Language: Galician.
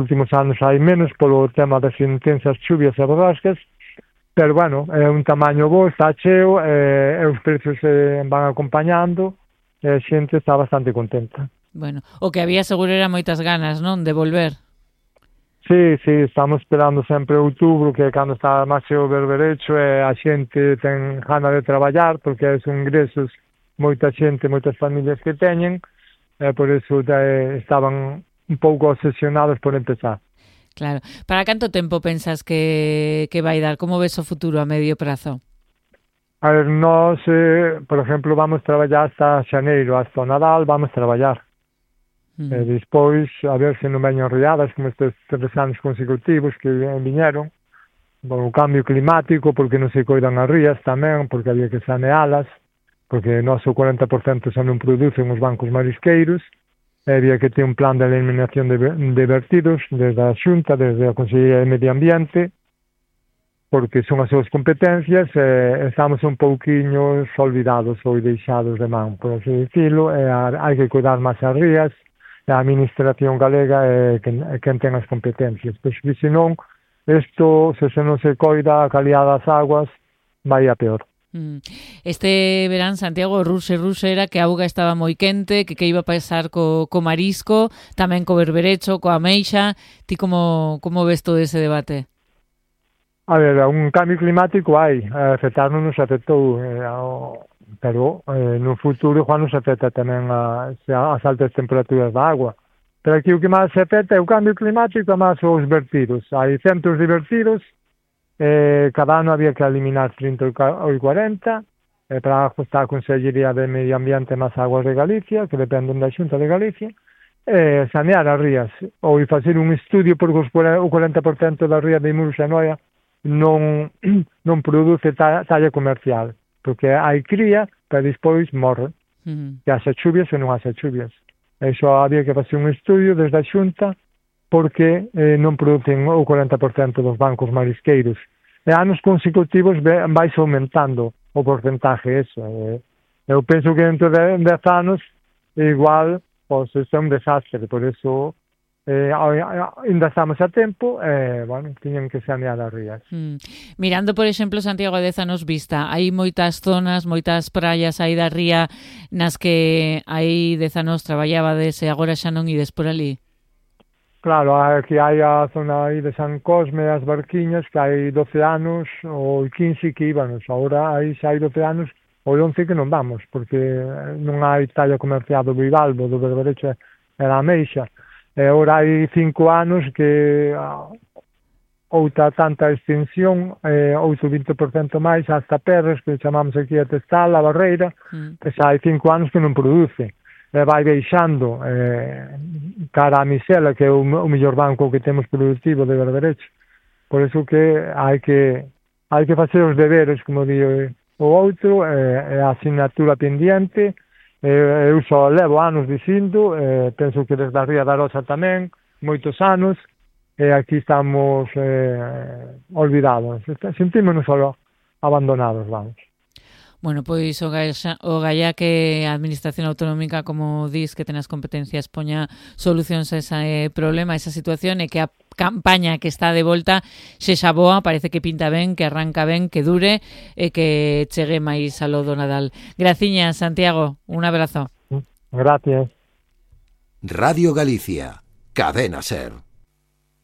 últimos anos hai menos polo tema das intensas chuvias e borrascas, pero bueno, é un tamaño bo, está cheo, e os precios van acompañando, e a xente está bastante contenta. Bueno, o que había seguro era moitas ganas, non, de volver. Sí, estamos esperando sempre outubro, que é cando está máis cheo o berberecho, e a xente ten gana de traballar, porque son ingresos moita xente, moitas familias que teñen, e por iso estaban un pouco obsesionados por empezar. Claro. Para canto tempo pensas que vai dar? Como ves o futuro a medio prazo? A ver, nós, por exemplo, vamos traballar hasta xaneiro, hasta o Nadal vamos traballar. E despois, a ver se non veñen riadas como estes 3 anos consecutivos que viñeron, o cambio climático, porque non se coidan as rías tamén, porque había que sanealas, porque o noso 40% xa non producen os bancos marisqueiros, e había que ter un plan de eliminación de vertidos desde a Xunta, desde a Consellería de Medio Ambiente, porque son as súas competencias, e estamos un pouquiño olvidados ou deixados de man, por así dicilo, e hai que cuidar máis as rías, e a administración galega é quen ten as competencias, pois que senón, isto, se non se coida a calidad das aguas, vai a peor. Este verán, Santiago, ruse era que a auga estaba moi quente, que iba a pasar co marisco, tamén co berberecho, coa ameixa. Ti como ves todo ese debate? A ver, un cambio climático hai, afectarnos nos afectou, pero no futuro Juan nos afecta tamén as altas temperaturas da agua. Pero aquí o que máis se afecta é o cambio climático e máis os vertidos. Hai centros de vertidos, cada ano había que eliminar 30 ou 40, para ajustar a Consellería de Medio Ambiente máis Aguas de Galicia, que dependen da Xunta de Galicia, sanear as rías, ou facer un estudio, porque o 40% das rías de Muros e Noia non produce talla comercial, porque hai cría, pero despois morre, que haxa chuvias ou non haxa chuvias. Iso había que facer un estudio desde a Xunta, porque non producen o 40% dos bancos marisqueiros. E anos consecutivos vais aumentando o porcentaje eso. Eu penso que dentro de 10 anos igual pois é un desastre, por eso ainda estamos a tempo, bueno, tiñen que sanear as rías. Mirando, por exemplo, Santiago, a 10 anos vista, hai moitas zonas, moitas praias aí da ría nas que hai 10 anos traballabades e agora xa non ides por ali? Claro, aquí hai a zona aí de San Cosme, as barquiñas, que hai 12 anos ou 15 que íbanos. Agora aí xa hai 12 anos ou 11 que non vamos, porque non hai talla comercial do bivalvo, do berberecho e da ameixa. E agora hai 5 anos que outra tanta extensión, outro 20% máis, hasta Perres, que chamamos aquí a Testal, a Barreira, que xa hai 5 anos que non produce. Vai deixando cara a Misela, que é o mellor banco que temos productivo de berberecho. Por iso que hai que facer os deberes, como di o outro, a asignatura pendiente. Eu só levo anos dicindo, penso que desde a Ría da Rosa tamén, moitos anos, e aquí estamos olvidados. Sentímonos só abandonados, vamos. Bueno, pois o galla que a Administración Autonómica, como dis, que ten as competencias, poña solucións a ese problema, a esa situación, e que a campaña que está de volta sexa boa, parece que pinta ben, que arranca ben, que dure e que chegue máis alo do Nadal. Graciñas, Santiago, un abrazo. Gracias. Radio Galicia, Cadena SER.